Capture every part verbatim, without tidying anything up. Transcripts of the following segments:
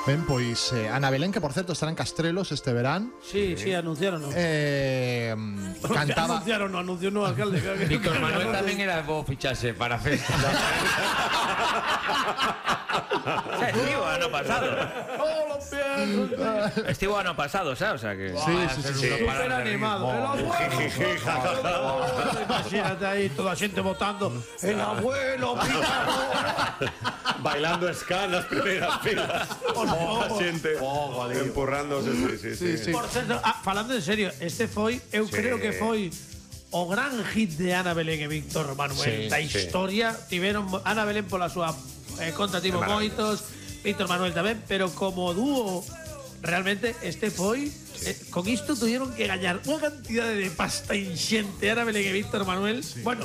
Ben, pois eh, Ana Belén, que por certo estará en Castrelos este verán. Sí, sí, anunciaron. ¿no? Eh, cantaba. Anunciaron, no, anunció no alcalde. Víctor Manuel tamén era bo ficharse para a festa. Estivo ano pasado. Estivo ano pasado, sabes? O sea que Sí, sí, sí, sí. Súper animado. El abuelo. Imagínate ahí toda a xente votando. El abuelo, Bailando ska nas primeiras filas. A xente empurrándose, sí, sí, sí. Sí, sí. Por certo, ah, falando en serio, este foi, eu Sí. creo que foi o gran hit de Ana Belén e Víctor Sí, Manuel da sí. historia. Tiveron Ana Belén pola súa eh, conta tivo moitos, Víctor Manuel tamén, pero como dúo realmente este foi eh, con isto tuvieron que gañar unha cantidade de pasta inxente Ana Belén e Víctor Manuel. Bueno,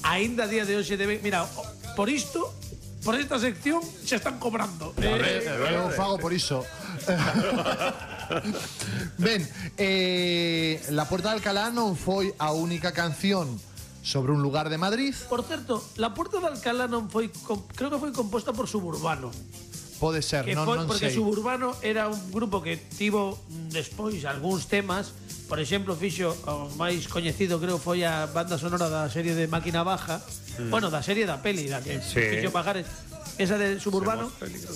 aínda a día de hoxe deben, mira, por isto, por esta sección se están cobrando. Eh, Eu fago por iso. Ben, eh, La Puerta de Alcalá non foi a única canción sobre un lugar de Madrid. Por certo, La Puerta de Alcalá non foi, com, creo que foi composta por Suburbano. Pode ser, Que non, foi non porque sei. Suburbano era un grupo que tivo mm, despois algúns temas. Por exemplo, fixo o máis coñecido, creo, foi a banda sonora da serie de Máquina Baja. Mm. Bueno, da serie da peli, da que Sí. fixo Pajares. Esa de Suburbano,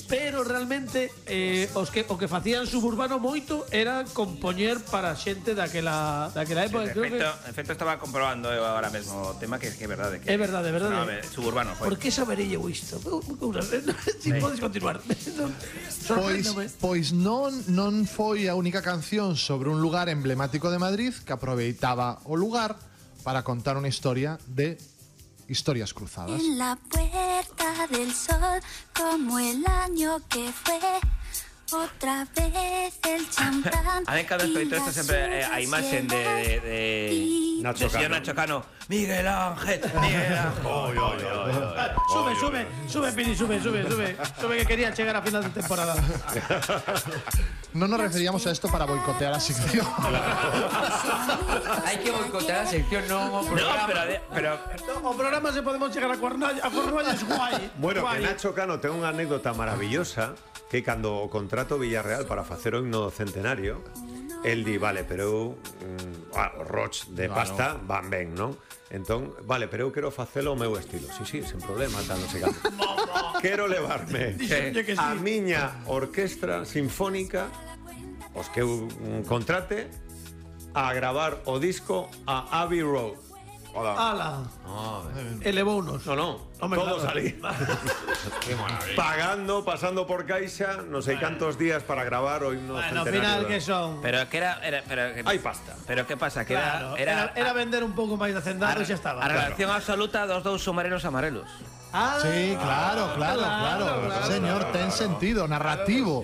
pero realmente eh, os que o que facían Suburbano moito era compoñer para xente daquela daquela época. de Creo efecto, que de efecto estaba comprobando eu agora mesmo o tema que que é verdade que É verdade, é verdade. sonaba Suburbano foi. ¿Por qué saberé eu isto? Si podes continuar. Pois, Sorpréndome. pois non, non foi a única canción sobre un lugar emblemático de Madrid que aproveitaba o lugar para contar unha historia de historias cruzadas. En la puerta del sol, como el año que fue, otra vez el champán. A ver, cada vez que esto sempre eh, a imaxen de de, de Nacho de señor Cano. Nacho Cano. Miguel Ángel, Miguel Ángel. Oy, oy, oy, oy. Sube, sube, sube, Pini, sube, sube, sube. Sube que quería chegar a final de temporada. Non nos referíamos a esto para boicotear a sección. Hai que boicotear a sección, non o No, programa. pero de- pero O programa se podemos chegar a Cornalla, a Cornalla es guai. Bueno, guai. que Nacho Cano ten unha anécdota maravillosa que cando o contrato Villarreal para facer o himno do centenario, el di, vale, pero eu mm, ah, Roch de pasta van ben, non? Entón, vale, pero eu quero facelo ao meu estilo. Sí, sí, sen problema, tal, non sei canto. Quero levarme Dixenlle que sí. a miña orquestra sinfónica, os que eu mm, contrate, a gravar o disco a Abbey Road. Hola. Ala. Elevounos. No, no, Hombre, todos claro. ali. Pagando, pasando por caixa, non sei cantos días para gravar o himno Bueno, ao centenario. final da- que son. pero que era era pero que, Hai pasta. Pero que pasa que Claro, era era, era vender un pouco máis de hacendado e xa estaba. a relación absoluta dos dous submarinos amarelos. Ah, Sí, claro, claro, claro. claro, Señor, ten sentido, narrativo.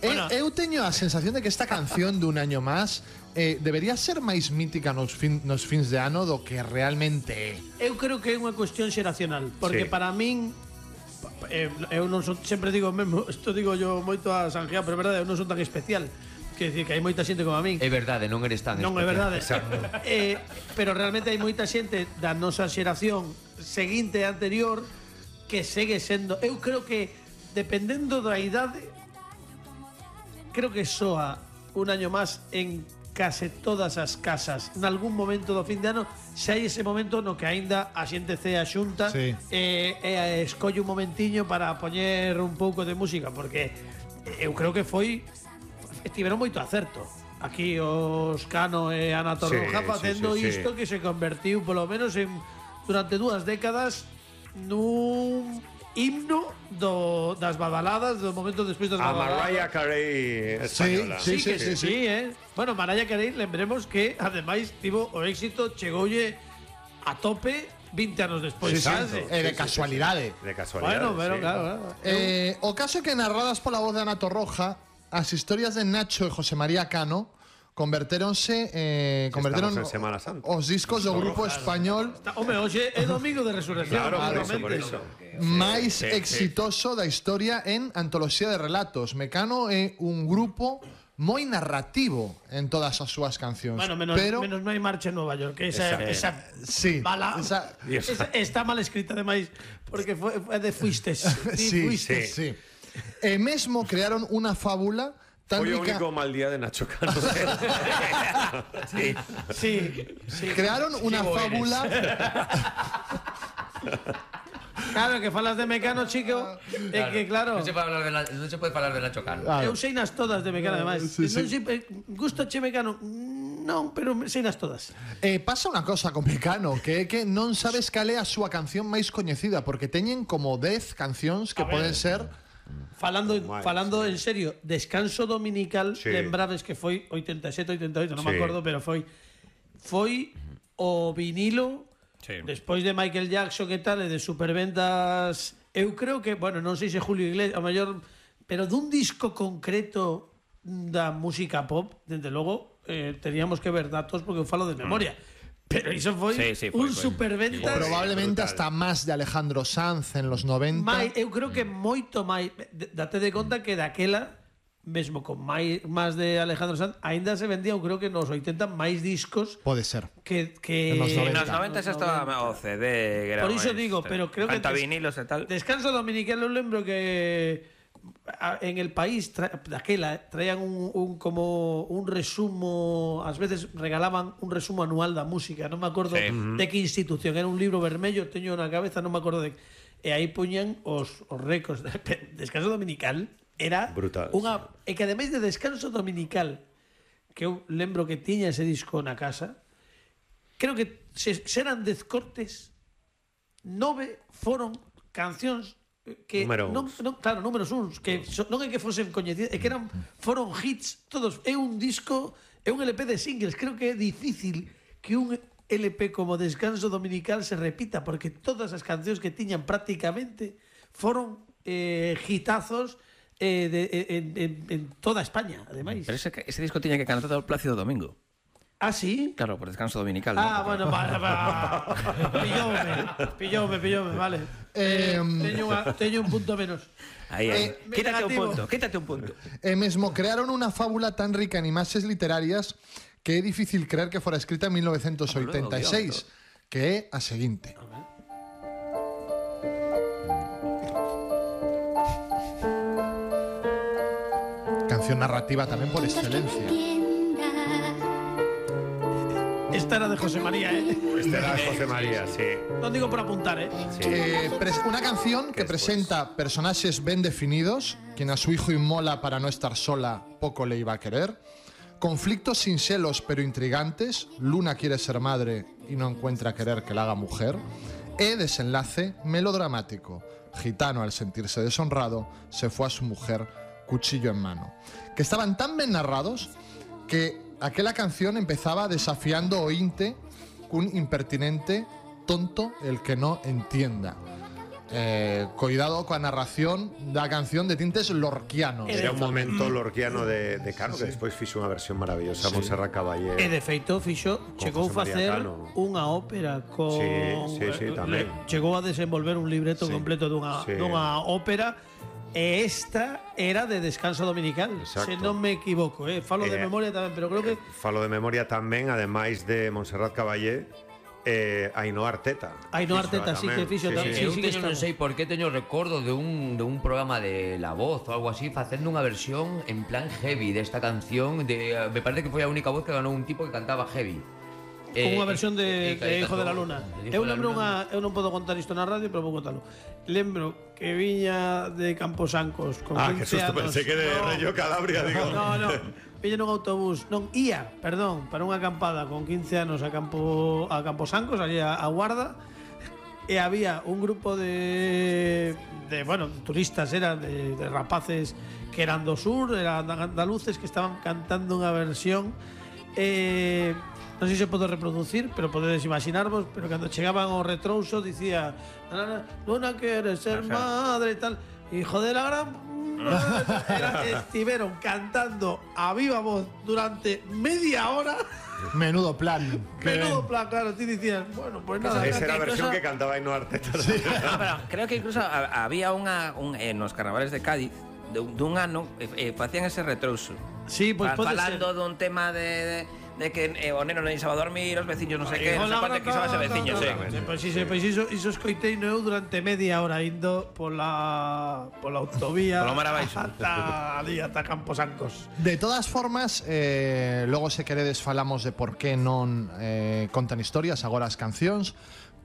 Eu, eu teño a sensación de que esta canción de Un año más eh, debería ser máis mítica nos, fin, nos fins de ano do que realmente é. eu creo que é unha cuestión xeracional, porque Sí. para min eh, eu non son, sempre digo mesmo, isto digo yo moito a Sanjean, pero é verdade, eu non son tan especial. Quer dicir que hai moita xente como a min. É verdade, non eres tan Non é especial. verdade. eh, pero realmente hai moita xente da nosa xeración seguinte e anterior que segue sendo. Eu creo que dependendo da idade, creo que soa Un año más en case todas as casas. En algún momento do fin de ano, se hai ese momento no que aínda a xente cea xunta Sí. e, e escolle un momentiño para poñer un pouco de música, porque eu creo que foi estiveron moito acerto. Aquí os Cano e Ana Torroja Sí, facendo sí, sí, sí. isto que se convertiu polo menos en durante dúas décadas nun himno do, das badaladas do momento despois das A badaladas. Mariah Carey española. Sí, Sí, que sí, sí, sí. eh. Bueno, Mariah Carey, lembremos que ademais tivo o éxito, chegoulle a tope vinte anos despois. Sí, sí, sabes? é de casualidade. De casualidad. Bueno, pero sí. claro, claro. Eh, o caso é que narradas pola voz de Ana Torroja, as historias de Nacho e José María Cano convertéronse eh, converteron Estamos en Semana Santa. os discos do grupo español Está- Home, hoxe é domingo de resurrección. Claro, por eso, claramente. por eso. máis sí, sí. exitoso da historia en antoloxía de relatos. Mecano é un grupo moi narrativo en todas as súas cancións. Bueno, menos, pero menos non hai marcha en Nova York. Que esa, esa, sí, bala, esa- esa- está mal escrita ademais porque foi, foi de fuistes. sí, sí, fuistes. sí. E mesmo crearon unha fábula tan Foi o rica... único mal día de Nacho Cano. Sí. Sí, sí. Crearon unha Sí, fábula... Claro, que falas de Mecano, chico, é que claro. Non se, pode hablar de la, non se pode falar de Nacho Cano. Eu sei nas todas de Mecano, ademais. Sí, sí. Non sei, eh, gusta che Mecano? Non, pero sei nas todas. Eh, pasa unha cosa con Mecano, que é que non sabes cal é a súa canción máis coñecida, porque teñen como dez cancións que A ver. poden ser... Falando, Mal, falando en serio, Descanso Dominical, Sí. lembrades que foi oitenta e sete, oitenta e oito, non me Sí. acordo, pero foi foi o vinilo Sí. despois de Michael Jackson e tal, e de superventas. Eu creo que, bueno, non sei se Julio Iglesias, a mellor, pero dun disco concreto da música pop, desde logo, eh, teníamos que ver datos porque eu falo de memoria. Pero iso foi Sí, sí, foi, un foi. superventas. Probablemente brutal. hasta más de Alejandro Sanz en los noventa. Mai, eu creo que moito máis. D- Date de conta que daquela, mesmo con máis, máis de Alejandro Sanz, aínda se vendía, eu creo que nos oitenta, máis discos Puede ser. que... que En los En noventa. los noventa xa estaba o C D. que era Por iso máis, digo, eh, pero creo que... cantavinilos e tal. Descanso Dominical, eu lembro que a- en el país tra, daquela eh, traían un, un como un resumo, ás veces regalaban un resumo anual da música, non me acordo Sí. de que institución, era un libro vermello, teño na cabeza, non me acordo de, e aí poñan os, os récords de Descanso Dominical, era Brutal, unha, e que ademais de Descanso Dominical, que eu lembro que tiña ese disco na casa, creo que se, se eran dez cortes, nove foron cancións que Número non, uns. non, claro, números uns, que so, non é que fosen coñecidas, é que eran foron hits todos. É un disco, é un L P de singles. Creo que é difícil que un L P como Descanso Dominical se repita, porque todas as cancións que tiñan prácticamente foron eh, hitazos eh, de, en, en, en toda España, ademais. Pero ese, ese disco tiña que cantar todo Plácido Domingo. Ah, sí? Claro, por Descanso Dominical. Ah, ¿no? bueno, vale, vale. Pillóme, pillóme, pillóme, vale. Eh, teño, unha, teño un punto menos. Ahí, ahí. Eh, quítate un negativo. punto, quítate un punto. E mesmo crearon unha fábula tan rica en imaxes literarias que é difícil creer que fora escrita en mil novecientos oitenta e seis, que é a seguinte. Canción narrativa tamén por excelencia. Esta era de José María, ¿eh? Este era José María, sí. Non digo por apuntar, ¿eh? Eh, pres- una canción que después. presenta personajes bien definidos, quien a su hijo inmola para no estar sola, poco le iba a querer. Conflictos sin celos pero intrigantes, Luna quiere ser madre y no encuentra querer que la haga mujer. E desenlace melodramático, gitano al sentirse deshonrado, se fue a su mujer, cuchillo en mano. Que estaban tan bien narrados que aquella canción empezaba desafiando o inte un impertinente tonto el que no entienda. Eh, cuidado coa narración da canción de tintes lorquianos. Era un momento lorquiano de, de Cano, que despois fixo unha versión maravillosa, Montserrat Caballé. E de feito fixo, chegou a José María facer Cano. unha ópera con Sí, sí, sí, eh, tamén. le- chegou a desenvolver un libreto Sí, completo dunha, sí. dunha ópera. E esta era de Descanso Dominical, Exacto. se non me equivoco, eh. Falo de Eh, memoria tamén, pero creo que Falo de memoria tamén, ademais de Montserrat Caballé, eh, Ainhoa Arteta. Ainhoa Fixo Arteta sí tamén. que fixo tamén. Eu Sí, sí que teño, non estamos. sei por qué teño recordo de un, de un programa de La Voz ou algo así facendo unha versión en plan heavy desta canción de, eh, me parece que foi a única voz que ganou un tipo que cantaba heavy. Con unha versión de, eh, de eh, Hijo de la cantou- Luna. de Hijo Eu de la lembro Luna. unha, eu non podo contar isto na radio, pero vou contalo. Lembro que viña de Camposancos con Ah, que quince susto, anos. pensé que de No, Reggio Calabria, digo. No, no. Viña nun autobús, non ía, perdón, para unha acampada con quince anos a Campo a Camposancos, allí a, a Guarda. E había un grupo de, de bueno, turistas, eran de, de rapaces que eran do sur, eran andaluces que estaban cantando unha versión eh, non sei se pode reproducir, pero podedes imaginarvos, pero cando chegaban ao retrouso dicía "Luna, Luna quiere ser madre" e tal, hijo de la gran Era, estiveron cantando a viva voz durante media hora. Menudo plan. Qué Menudo ben. plan, claro, ti dicías, bueno, pues nada. Esa era a que versión incluso- que cantaba Ainhoa Arteta. No, pero creo que incluso ha- había unha un, en los carnavales de Cádiz de, un- dun ano eh, eh, facían ese retrouso. Sí, pues Fa- pode falando ser. dun tema de, de de que eh, o neno non iba a dormir, os veciños non sei que, non sei cuánto que iba a ser veciños, sí. Pois iso, pois iso, iso escoitei eu durante media hora indo pola pola autovía. Polo mar abaixo. Ata ali, ata Camposancos. De todas formas, eh, logo se queredes falamos de por que non eh, contan historias, agora as cancións,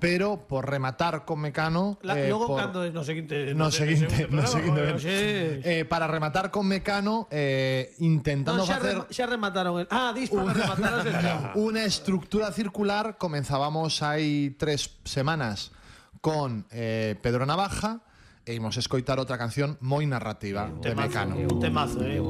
pero por rematar con Mecano, La, eh, logo por, cando no seguinte no seguinte, no seguinte programa, ben. eh, para rematar con Mecano, eh, intentando no, xa, facer rema, xa remataron el. Ah, dis para rematar a sesión. una estructura circular. Comenzábamos hai tres semanas con eh, Pedro Navaja e imos escoitar outra canción moi narrativa de Temazo, Mecano. un temazo, eh.